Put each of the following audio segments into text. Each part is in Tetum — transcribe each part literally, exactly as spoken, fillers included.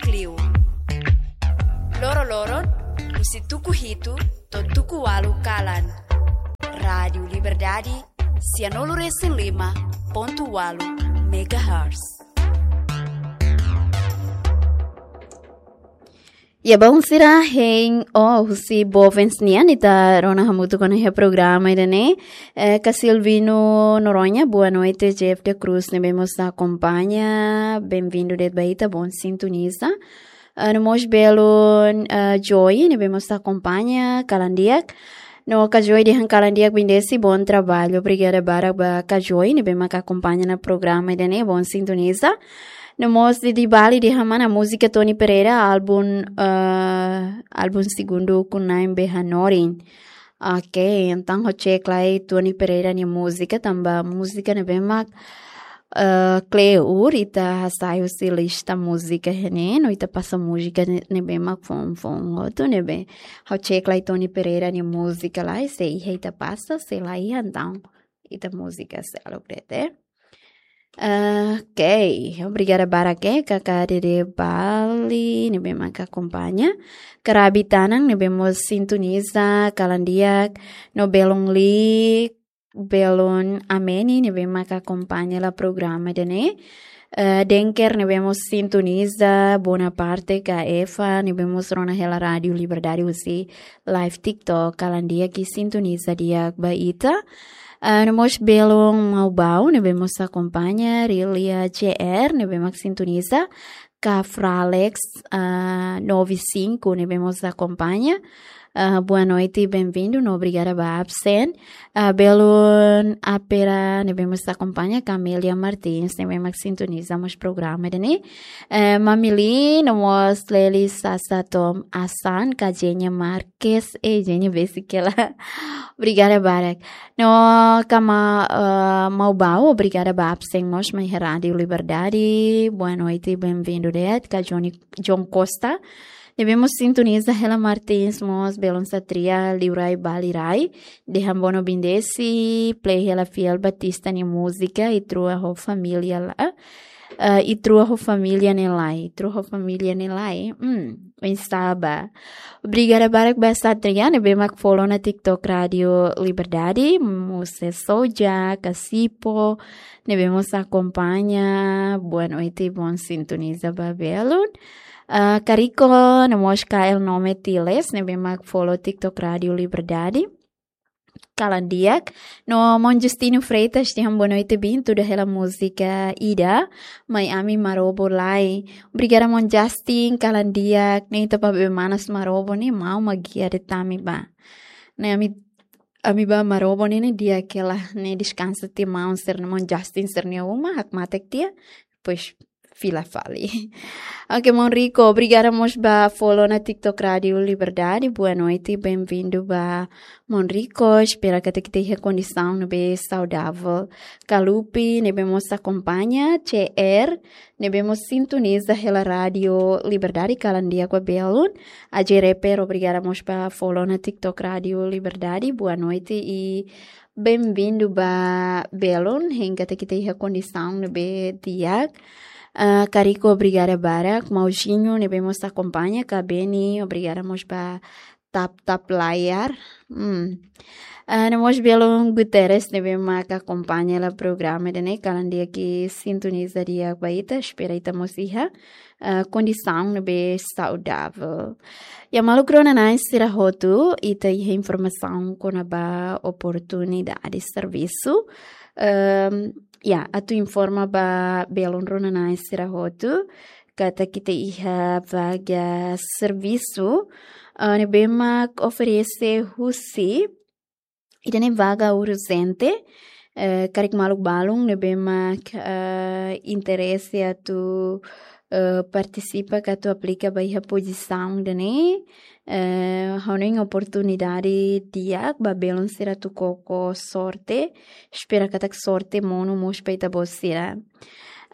Klio. Loro-loron, husi tuku hitu to'o tuku ualu kalan. Rádiu Liberdade, sianulu-resin-lima pontu ualu megahertz. Ya, baun sira hein o husi Bovens nian, ita rona hamutuk ona iha programa ida-ne'e. Eh, Ka Silvino Noronha, boa noite, Jeff da Cruz, ne'ebé mós akompaña, bem-vindo de'it ba ita, bom sintoniza. Ah, no mós belun, ah, Joy, ne'ebé mós akompaña, kalan di'ak. No Ka Joy dehan kalan di'ak, bendisi, bom trabalho. Obrigada barak ba Ka Joy, ne'ebé mak akompaña ona programa ida-ne'e, bom sintoniza. No mós Didi Bali dehan mana múzika Tony Pereira, álbum, ah, álbum segundu ku nain be hanorin. Ok, entaun ha'u cek lai Tony Pereira nia múzika, tanba múzika ne'ebé mak, eh, kleur ita hasai husi lista múzika ne'e, no ita pasa múzika ne'e, ne'ebé mak foun-foun hotu ne'ebé. Ha'u cek lai Tony Pereira nia múzika lai, se iha ita pasa, se la iha entaun ita múzika seluk de'it. Ok, obrigada barak, eh, Kaka Dede Bali, ne'ebé mak akompaña. Karabi Tanang, ne'ebé mós sintoniza, kalan di'ak, no belun Li, belun Ameni, ne'ebé mak akompaña hela programa ida-ne'e. Eh, Denker, ne'ebé mós sintoniza, Bonaparte, Ka Eva, ne'ebé mós rona hela Rádiu Liberdade husi live TikTok, kalan di'ak i sintoniza di'ak ba ita. Ah, no mós belun Maubau, ne'ebé mós akompaña, Rilia J R, ne'ebé mak sintoniza, Ka Fralex, ah, nove cinco, ne'ebé mós akompaña. Ah, boa noite, bem-vindo, no obrigada ba absen. Ah, belun Apera, ne'ebé mós akompaña, Camelia Martins, ne'ebé mak sintoniza mós programa ida-ne'e. Eh, Mamili, no mós Leli Sasa Tom Asan, Ka Jenya Mar- Kes, eh, Jenya besik hela. Obrigada barak. No Kama, eh, Maubau, obrigada ba absen mós mai iha Rádiu Liberdade. Boa noite, bem-vindo de'it, Ka Johnny, John Costa. Ne'ebé mós sintoniza hela Martins mós, belun Satria, Liurai, Balirai. Dehan bono bendisi, play hela Fiel Batista nia múzika, Itrua ho Família la. Eh, Itrua ho Família ne'e lai, Itrua ho Família ne'e lai. Hmm, oinsá ba. Obrigada barak ba Satria, ne'ebé mak follow ona TikTok Rádiu Liberdade, Muse Soja, Kasipo, ne'ebé mós akompaña, boa noite, bom sintoniza ba belun. Eh, Kariko, no mós K L Nome Tiles, ne'ebé mak follow TikTok Rádiu Liberdade. Kalan di'ak. No maun Justino Freitas dehan boa noite, bem-vindo hela múzika ida, Mai Ami Marobo Lai. Obrigada, maun Justin, kalan di'ak. Ne'e tanba be manas Marobo ne'e, maun mak gia de'it ami ba. Ne'e ami, ami ba Marobo ne'e, ne'e di'ak hela, ne'e deskansa tiha maun sira-nia, maun Justin sira-nia uma, hakmatek tiha. Depois fila fali. Ok, maun Rico, obrigada mós ba follow ona TikTok Rádiu Liberdade. Boa noite, bem-vindo ba maun Rico. Espera katak ita iha kondisaun ne'ebé saudável. Kalupi, ne'ebé mós akompaña, C R, ne'ebé mós sintoniza hela Rádiu Liberdade, kalan di'ak ba belun. Aje Reper, obrigada mós ba follow ona TikTok Rádiu Liberdade. Boa noite i bem-vindo ba belun, hein katak ita iha kondisaun ne'ebé di'ak. Ah, Kariko, obrigada barak. Mauzinho, ne'ebé mós akompaña, Ka Beni, obrigada mós ba tap-tap layar. Hmm. Ah, no mós belun Guterres, ne'ebé mak akompaña hela programa ida-ne'e, kalan di'ak i sintoniza di'ak ba ita, espera ita mós iha, ah, kondisaun ne'ebé saudável. Ya, maluk rona-na'in sira hotu, ita iha informasaun kona-ba oportunidade servisu. Ehm, ya, atu informa ba belun rona-na'in sira hotu, katak ita iha vaga servisu, ah, ne'ebé mak oferese husi, ida-ne'e vaga urjente, eh, karik maluk balun ne'ebé mak, eh, interese atu, eh, partisipa ka atu aplika ba iha pozisaun ida-ne'e, eh, ha'u hanoin oportunidade di'ak ba belun sira atu koko sorte, espera katak sorte monu mós ba ita-boot sira.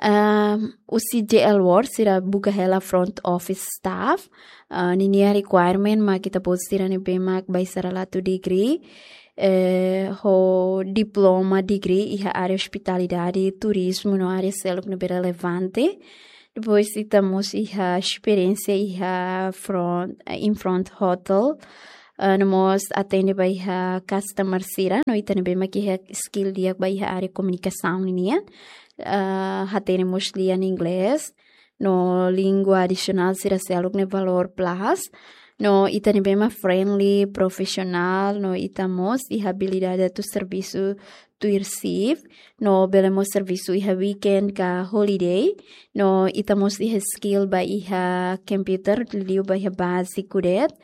Ah, husi J L World sira buka hela front office staff. Ah, ninia requirement mak ita-boot sira ne'ebé mak baisalalatu degree, eh, ho diploma degree iha área ospitalidade, turizmu no área seluk ne'ebé relevante. Depois ita mós iha esperiénsia iha front, eh, in front hotel. Ah, no mós atende ba iha customer sira, no ita ne'ebé mak iha skill di'ak ba iha área komunikasaun ninian. Ah, hatene mós lian inglés, no língua adisionál sira seluk ne'e valór plus. No ita ne'ebé mak friendly, profisionál, no ita mós iha abilidade atu servisu tuir shift, no bele mós servisu iha weekend ka holiday, no ita mós iha skill ba iha computer, liu ba iha báziku de'it,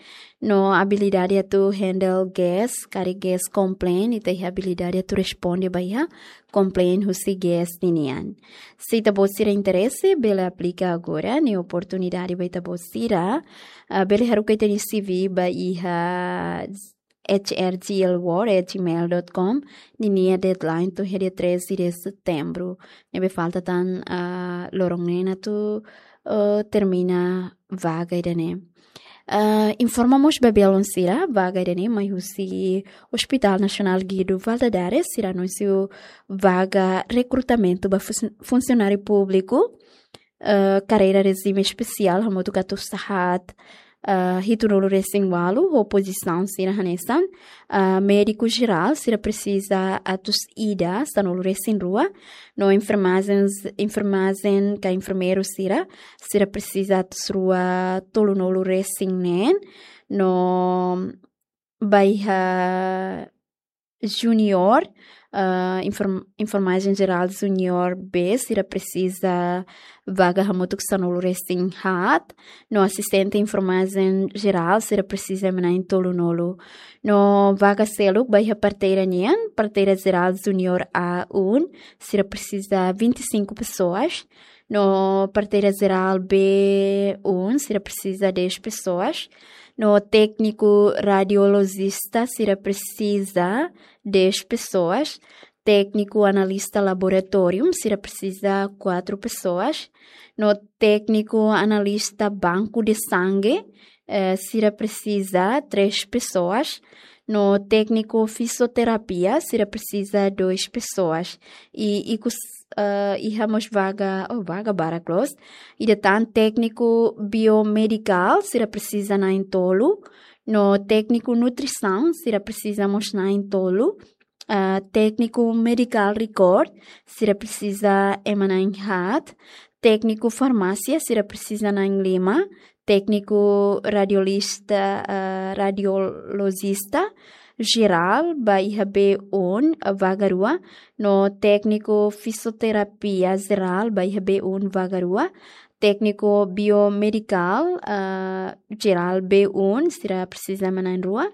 no abilidade atu handle guest, karik guest complain, ita iha abilidade atu responde ba iha complain husi guest ninian. Se ita-boot sira interese, bele aplika agora, ne'e oportunidade ba ita-boot sira, ah, bele haruka ita-nia C V ba iha H R G L world at gmail dot com, ninia deadline to'o iha dia treze de setembro. Ne'ebé falta tan, ah, loron neen atu, ah, termina vaga ida-ne'e. Ah, informa mós ba belun sira, vaga ida-ne'e mai husi Hospital Nasionál Guido Valadares, sira anunsiu vaga rekrutamentu ba fun-, funsionáriu públiku, ah, karreira rejime espesiál, hamutuk atus haat, ah, hitunulu resin ualu, ho pozisaun sira hanesan, ah, médiku jerál, sira presiza atus ida, sanulu resin rua, no enfermajen, enfermajen ka enfermeiru sira, sira presiza atus rua tolunulu resin neen, no ba iha junior, ah, inform-, enfermajen jerál junior B, sira presiza vaga hamutuk sanulu resin haat, no asistente enfermajen jerál, sira presiza ema na'in tolunulu. No vaga seluk ba iha parteira nian, parteira jerál junior A um, sira presiza vinte e cinco pessoas, no parteira jerál B um, sira presiza dez pessoas, no tékniku radiolojista, sira presiza dez pessoas, tékniku analista laboratóriu, sira presiza quatro pessoas, no tékniku analista banku de sangue, eh, sira presiza três pessoas, no tékniku fisioterapia, sira presiza dois pessoas. I, i kus-, eh, iha mós vaga, oh, vaga barak loos. Ida tan tékniku biomedikál, sira presiza na'in tolu, no tékniku nutrisaun, sira presiza mós na'in tolu, ah, tékniku medical record, sira presiza ema na'in haat, tékniku farmásia, sira presiza na'in lima, tékniku radiolista, ah, radiolojista jerál, ba iha B um, ah, vaga rua, no tékniku fisioterapia jerál, ba iha B um, vaga rua, tékniku biomedikál, ah, jerál B um, sira presiza ema na'in rua,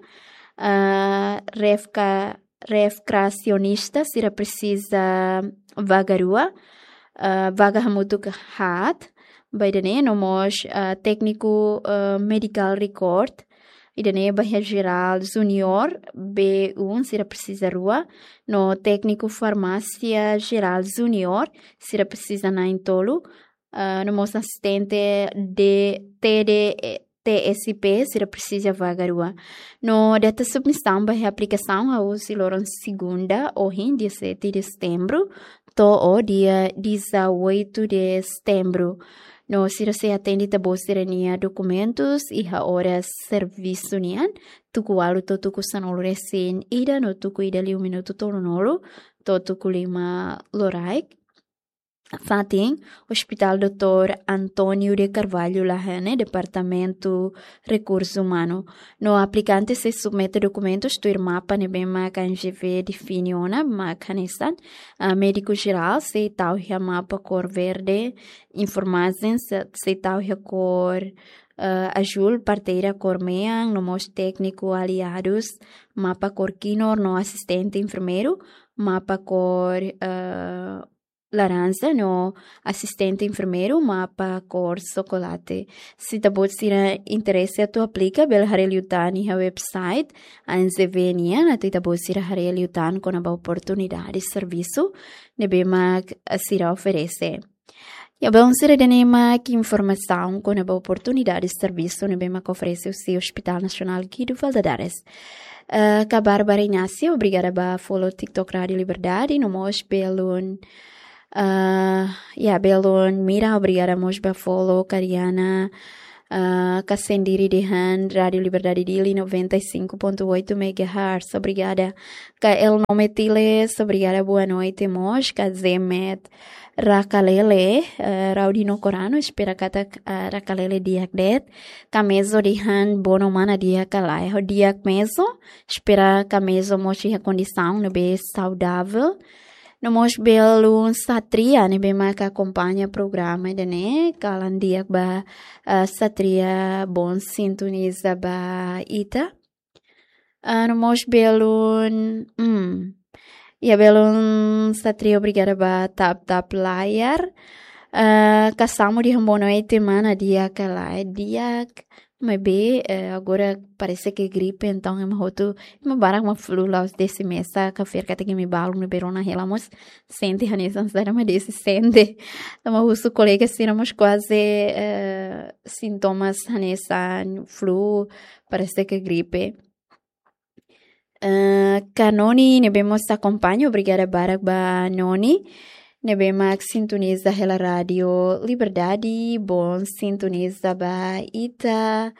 ah, refka-, rekreasionista, sira presiza vaga rua, ah, vaga hamutuk haat, ba ida-ne'e, no mós, ah, tékniku, ah, medical record, ida-ne'e ba iha jerál junior B um, sira presiza rua, no tékniku farmásia jerál junior, sira presiza na'in tolu, ah, no mós asistente de T D, T S P, sira presiza vaga rua. No data submisaun ba iha aplikasaun hahú husi loron segunda, ohin, dia sete de setembro, to'o dia dezoito de setembro. No sira sei atende ita-boot sira-nia dokumentus iha oras servisu nian, tuku ualu to'o tuku sanulu resin ida, no tuku ida liu minutu tolunulu to'o tuku lima loraik. Fatin, Hospital Doutór António de Carvalho Lahane, Departamentu Rekursu Umanu. No aplikante sei submete dokumentus tuir mapa ne'ebé mak ANGV define ona, mak hanesan, ah, médiku jerál sei tau iha mapa kór verde, enfermajen se-, sei tau iha kór, ah, azúl, parteira kór mean, no mós tékniku aliadus, mapa kór kinur, no asistente enfermeiru, mapa kór, ah, laranja, no asistente enfermeiru, mapa kór xokolate. Se ita-boot sira interese atu aplika, bele haree liután iha website ANGV nian, atu ita-boot sira haree liután kona-ba oportunidade servisu ne'ebé mak sira oferese. Ya, belun sira, ida-ne'e mak informasaun kona-ba oportunidade servisu ne'ebé mak oferese husi Hospital Nasionál Guido Valadares. Eh, ha'u Bárbara Inácio, obrigada ba follow TikTok Rádio Liberdade, no mós belun Ah, ya, belun Mira, obrigada mós ba follow, Kariana, ah, ka sendiri dehan Rádio Liberdade Dili noventa e cinco ponto oito megahertz. Obrigada. Ka El Nome Tiles, obrigada, boa noite mós. Ka Zemet Rakalele, eh, Raudino Corano, espera katak, ah, Rakalele di'ak de'it. Ka Mezo dehan bono mana di'ak ka lae. Ho di'ak Mezo, espera ka Mezo mós iha kondisaun ne'ebé saudável. No mós belun Satria ne'ebé mak akompaña programa ida-ne'e, kalan di'ak ba, ah, Satria, bon sintoniza ba ita. Ah, no mós belun, hmm. Ya, belun Satria, obrigada ba tap-tap layar. Ah, ka Samu dehan boa noite mana di'ak ka lae, di'ak. Maibé, eh, agora parese ke gripe, entaun ema hotu, ema barak mak flu la'ós desi mesa, ka fiar katak imi balun ne'ebé rona hela mós sente hanesan saida mak desi sente. Tanba husu kolega sira mós kuaze, eh, sintomas hanesan flu, parese ke gripe. Eh, ka Noni ne'ebé mós akompaña, obrigada barak ba Noni ne'ebé mak sintoniza hela Rádio Liberdade, bon sintoniza ba ita.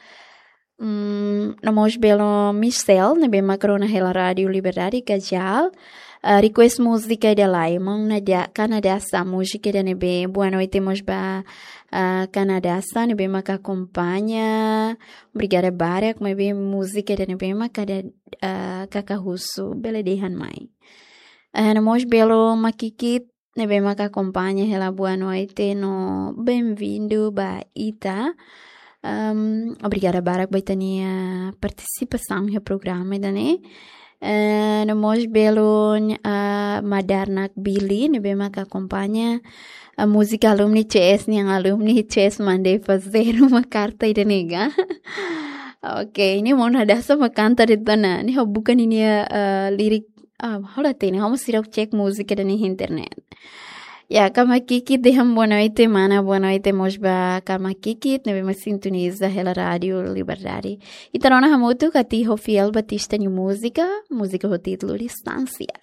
Mm, no mós belun Michel ne'ebé mak rona hela Rádio Liberdade, ka Jal. Ah, request múzika ida lai, maun Nadia, Kanadasa, múzika ida ne'ebé. Boa noite mós ba, ah, Kanadasa ne'ebé mak akompaña. Obrigada barak, maibé múzika ida ne'ebé mak kada, ah, kaka husu, bele dehan mai. Ah, no mós belun Makikit ne'ebé mak akompaña hela boa noite no bem-vindo ba ita. Ahm, obrigada barak ba ita-nia partisipasaun iha programa ida-ne'e. Eh, no mós belun, ah, Madarnak Billy ne'ebé mak akompaña, ah, múzika alumni C S nian, alumni C S mandei fazer uma carta ida ne'e ga. Ok, ne'e maun Nadia só mak kanta de'it ona. Ne'e ha'u buka ninia, ah, lirik, ah, ha'u la hatene, ha'u mós seidauk cek múzika ida-ne'e iha internet. Ya, ka Makikit dehan boa noite mana, boa noite mós ba ka Makikit ne'ebé mak sintoniza hela Rádio Liberdade. Ita rona hamutuk Atiho Fiel Batista nia múzika, múzika ho títulu Distánsia.